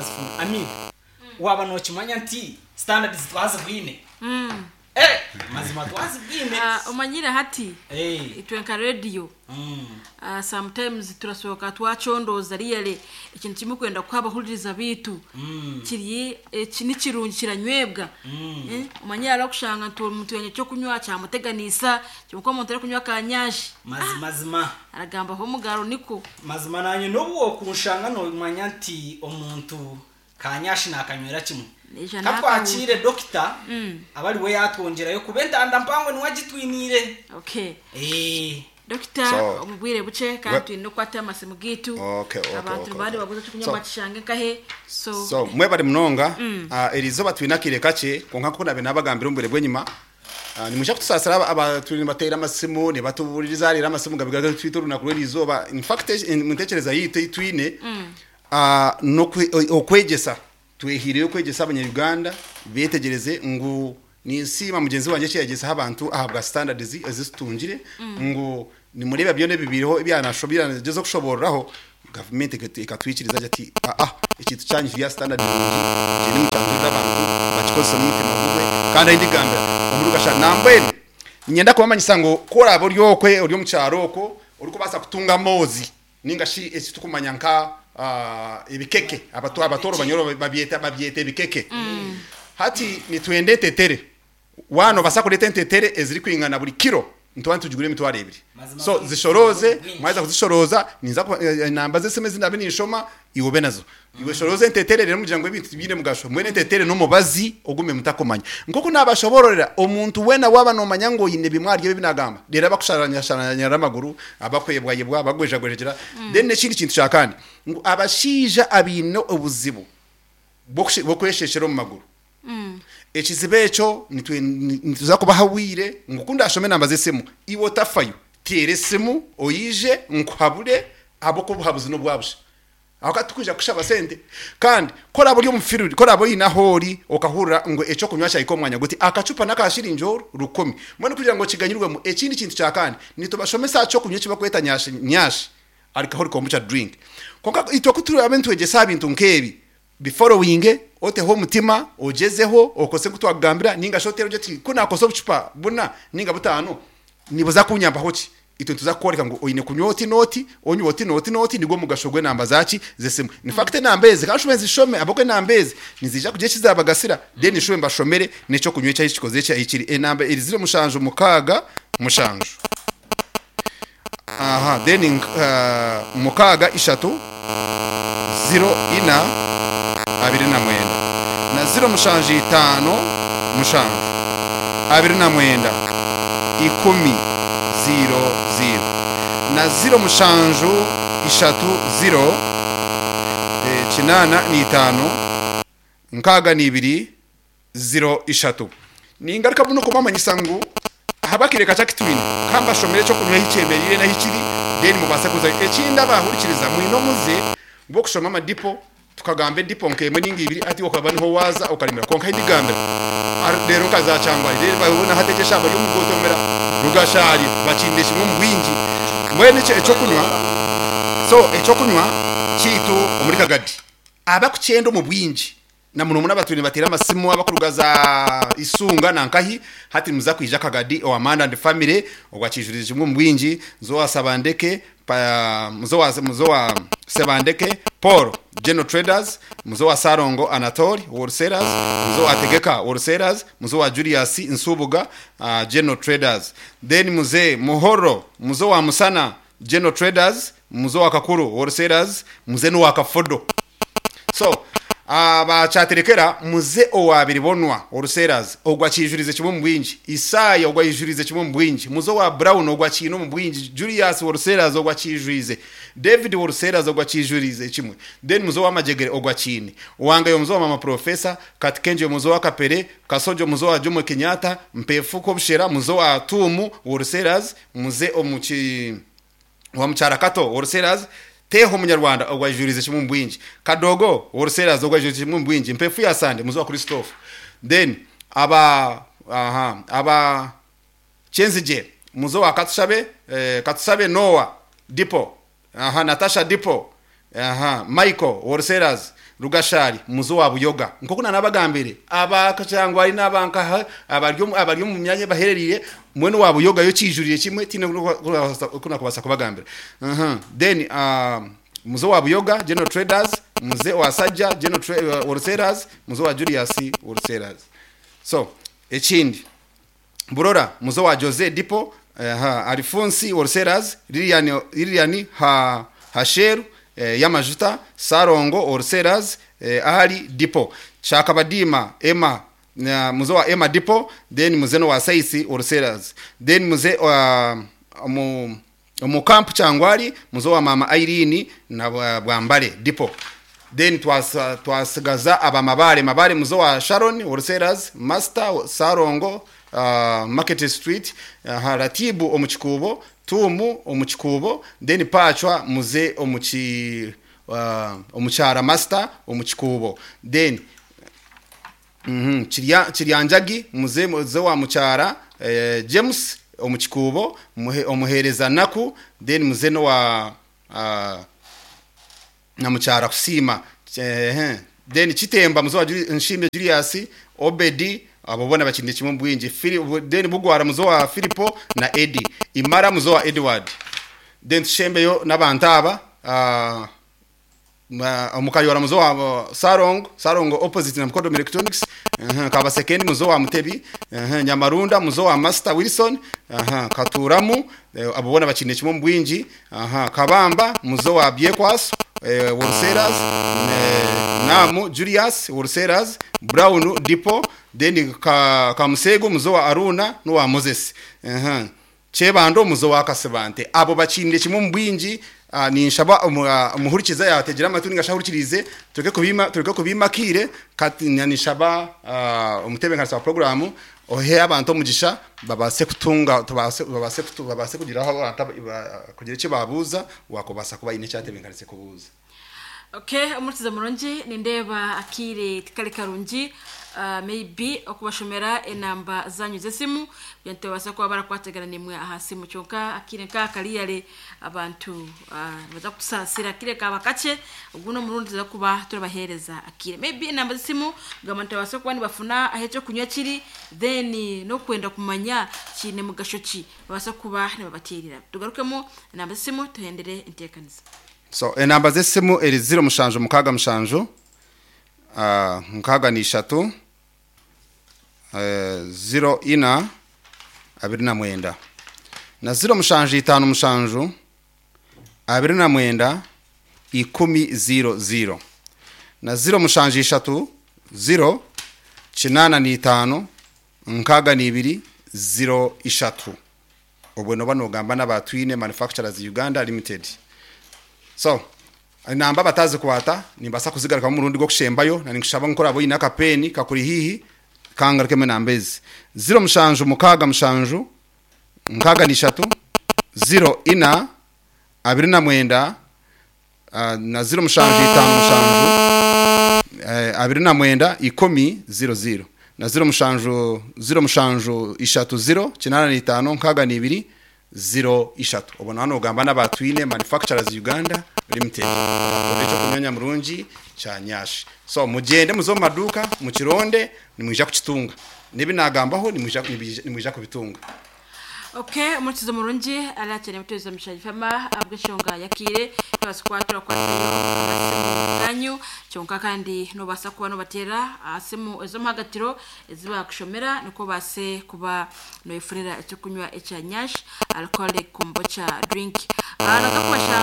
twazifuna. Amina, waaba nookimanya nti standards twazibwine. Eh, mazima twazibwine. Ah, omanyire hati Eh, itwe nka radio sometimes turasohoka twacondooza really ekintu kimwe kwenda kuha abahuririza baitu kiri eki ni kirungi kiranywebwa. Eh, omanyire hariho okushanga nti omuntu yanywa ekyokunywa kyamuteganisa kyonka omuntu arikunywa akanyashi Mazima. Aragambaho omugaro nikwo. Mazima nanye nobu wokunshanga nomanya nti omuntu kanyashi nakanywera kimwe. Naija Ka n'akahuuta. twakiire dokita abe ariwe yatwongyerayo kuba entanda mpango niwe agitwiniire. Okay. Eh. Dokita So, omu bwire bukye kandi we- twine okukwata amasimu gaitu. Okay, okay, Abantu okay, nibaba okay. nibaguza ekyokunywa So- bakishange nkahe. So, So mwebare munonga. Eriizooba twine akaire kakye kwonka nk'oku naabaire naabagambira omu bwire bw'enyima, nimwija kutusaasira aba- aba turi nibateera amasimu nibatubuuririza reero amasimu gabe gatwita orunaku rw'eriizooba. In fact omu ntekyereza yaitu ei twine n'okwe- okwegyesa twehiireyo kwegyesa abanya-Uganda beetegyereze ngu ninsiima mugyenzi wangye eki yaayegyesaho abantu ahabwa standards ezi tutungire ngu nimureeba byona ebibaireho ebyanagyezaho kushoboororaho Gavumenti ekatwikiriza gye ati, Aa, ekintu kyanyu kiri aha sitandadi nungi, mugyende mukyanjurire abantu, bakikozese n'omutima gumwe. Kandi ahi ndigambira, omuri Rukashari. Nambwenu, niinyenda kubamanyisa ngu ku oraabe ori okwe, ori omu kyaro okwo, orikubaasa kutunga amoozi nainga shi eki turikumanya nka ebikeke, Abatooro banyoro babyeta babyeta ebikeke. Hati nitwenda entetere. Waaba noobaasa kureeta entetere ezirikwingana buri kiro, nituba nitugigura emitwaro ebiri. So zishorooze, mwaheza kuzishorooza, ninza kuba enamba z'esimu ezi ndaabe ninshoma, iwe obe nazo. Iwe shorooza entetere reero mugira ngu ebintu tibiine mugasho. Mbwenu entetere n'omubazi ogume mutakumanya. Nk'oku naabashoboororera, omuntu weena waaba noomanya ngu oine bimwe ahari ebi ebi naagamba, reero abakusharanyasharanyara amaguru, abakwebwayebwa, abakugwejagwejegyera. Then n'ekindi kintu kya kandi, ngu abashaija abaine obuzibu bw'okwesheeshera omu maguru, Ekizibu ekyo nituza kubaha obwire ngu ku ndashome enamba z'esimu, iwe otafayo, teera esimu oije nkuhabure ahabw'okuba obuhabuzi n'obwa busha. Aho titukwija kukushaba sente. Kandi ku oraabe ori omu field, ku oraabe oine ahu ori okahurira ngu eky'okunywa kyahika omu mwanya guti, akacupa n'aka shiringi oru rukumi. Mbwenu kugira ngu okiganyirwemu, ekindi kintu kya kandi, nitubashomesa aha ky'okunywa eki barikweta nyashi nyashi, alcoholic kombucha drink. Kwonka itwe ku turaabe nitwegyesa aha bintu nk'ebi, Biforowinge, oteho omutima, ogyezeho, okose nku twakugambira, ninga shi oteere ogire oti, Ku naakosa obucupa buna ninga butaano, nibuza kunyambaho ki? Itwe nituza kukworeka ngu oine kunywa oti n'oti, onywe oti n'oti n'oti, nigwo mugasho gw'enamba zaaki? Z'esimu. In fact enamba ezi, ka nshube nzishome ahabw'okuba enamba ezi niziija kugira eki zaabagasira, then nshube mbashomere n'eky'okunywa eki ahi kikoze ki, ahi kiri. Enamba eri ziro mushanju mukaaga mushanju. Aha, then mukaaga ishatu ziro ina abiri na mwenda na ziro mushanju itaano mushanju abiri na mwenda ikumi ziiro ziiro na ziro mushanju ishatu ziro kinaana na itaano nkaaga na ibiri ziro ishatu. Ningaruka bunu kubamanyisa ngu ahabw'akaire kakye aku twine, ka mbashomere eky'okunywa ahi kyemereire n'ahi kiri, then mubaase kuzayo. Ekindi abahurikiriza mwine omuze gw'okushoma amadipo, tukagamba edipo nk'emwe ninga ibiri hati iwe okaba niho waaza okaremera. Kwonka ahi ndigambira, reero nka za Kyangwali, reero boona hati egyo eshaaha bari omu Gotomera, Rugashari, bakiine kimwe omu bwingi. Mbwenu ekyo eky'okunywa, so eky'okunywa kyaitu omuri Kagadi, abakukyenda omu bwingi, Na muno muno abatwire nibateera amasimu abakuruga za Isunga na nkahi, hati nimuza kwija Kagadi owa Manda and Family ogwa kiijurize kimwe omu bwingi, muze owa Sabandeke pa muze owa muze owa Sebandeke Paul General Traders, muze owa Salongo Anatole Wholesalers, muze owa Tegeka Wholesalers, muze owa Julius Nsubuga General Traders, then muze Muhoro, muze owa Musana General Traders, muze owa Kakuru Wholesalers, muze n'owa Kafodo. So aba kyaterekera muze owa Biribonwa Wholesalers ogwo akiijurize kimwe omu bwingi, Isaaya ogwo aijurize kimwe omu bwingi, muze owa Brown ogwo akiine omu bwingi, Julius Wholesalers ogwo akiijwize, David Wholesalers ogwo akiijurize kimwe, then muze owa Majegere ogwo akiine, Wangayo muze owa Mama Professor, Katikenje muze owa Kapere, Kasojo muze owa Jomo Kenyatta, Mpefu Kobushera muze owa Tuumu Wholesalers, muze omu ki. Owa Mukyara Kato Wholesalers, Teeho Omunyarwanda ogwo aijuriize kimwe omu bwingi, Kadogo Wholesalers ogwo aijuriize kimwe omu bwingi, Mpefu ya Sande muze owa Christophe. Then aba aha aba Kyenzigye muze owa Katushabe eh, Katusabe Noah Depot aha Natasha Depot aha Michael Wholesalers. Rugashari muzo wa Buyoga. Nkoku nanabagambire abakachangwa ari nabanka abari omu myanya bahererire mwene wa Buyoga yo kijurire kimwe tine kuna kubasa kubagambira. Then muzo wa Buyoga General Traders, muze wa Sajja General Wholesalers, muzo wa Julius Wholesalers. So ekindi Burora muzo wa Jose Dipo, Alphonse Wholesalers, Lilian ha Hasheru Yamajuta, Sarongo Wholesalers, Ahali Dipo, Chakabadima Emma muzo wa Emma Dipo, then muzeno wa Saisi Wholesalers, then muze wa mu camp Changwari muzo wa Mama Irene na Bwambale Dipo. Then twasigaza abamabare mabare muzo wa Sharon Wholesalers, Master Sarongo Market Street, Ratibu omuchikubo, Tumu omuchikubo, then Pachwa muze omuchara Master omuchikubo. Then Chiryanjagi muze wa muchara James omuchikubo, omuhereza naku, then muze no wa na muchara kusima. Then Chitemba muzo wa Nshimbe Julius Obedi, abo bona bakinde kimwe mbwinji. Then Bugwara muzo wa Filipo na Eddie, Imara muzo wa Edward. Then tushembeyo n'abantu aba omukayora muzo wa Sarongo opposite na Mkodo Electronics, Kabasekeni muzo wa Mutebi, Nyamarunda muzo wa Master Wilson, Katuramu abo bona bakinde kimwe mbwinji, Kabamba muzo wa Biekwas Wholesalers, Namu Julius Wholesalers, Brown Dipo, then Kamusego muzo wa Aruna no wa Moses, Chebando muzo wa Kasebante. Abo bakinde kimwe mbwinji. Ninshaba umuhurikiza yategera amatuni ngashahurikirize tureke kubimakire ninshaba umutebenkanisa wa programu ohe abantu omugisha babase kutunga babase kugiraho abantu kugira icyo babuza wakobasa kuba ine cyatebenkanise kubuza. Okay, omurikiza murungi nindeba akire tikali karungi, maybe okubashomera enamba zanyu zesimu byante basa kuba barakwategana nimwe aha simu kyonka akire nka kaliyale abantu baza kusasira akire kaba kache uguno murundi za kuba turabahereza akire maybe enamba zesimu gamantu basa kuba nibafuna ahecho kunywa kiri then no kwenda kumanya kine mugasho ki basa kuba nibabatirira. Tugarukemo enamba zesimu tuhendere intekaniza. So enamba zesimu eri 0 mushanju mukaga mushanju mukaga ni 3 0 ina 29 na 0 mushanju 5 mushanju 29 10 0 na 0 mushanju 3 0 9 ni 5 nkaga ni 2 0 3. Obwo no bano gamba n'abatwine Manufacturers Uganda Limited. So namba batazi kwata nimbasa kuzigaruka mu rundi gwo kushembayo na nikushaba nkora abo ina kapeni kakuri hihi kangaruke mu nambezi 0 mushanju mukaga mushanju nkaga ni 3 0 ina 29 na 0 mushanju 5 mushanju 29 10 00 na 0 mushanju 0 mushanju 3 0 95 nkaga ni 2 0 3. Obona hano ugamba n'abatwine Manufacturers Uganda Limited bakoresha kunyanya murungi cha nyashi. So mugende muzo maduka mukironde nimwija kukitunga nibi nagambaho nimwija kubitunga. Okay, omurikiza murungi alakene muteza mushaji fama abweshonga yakire basukwatura kwatayo amasimu ganyu kyonka kandi no basa kuba no batera asimu ezo mpagatiro eziba kushomera niko base kuba no ifurira icyo kunywa ecya nyash alcoholic kombucha drink. Naza kubasha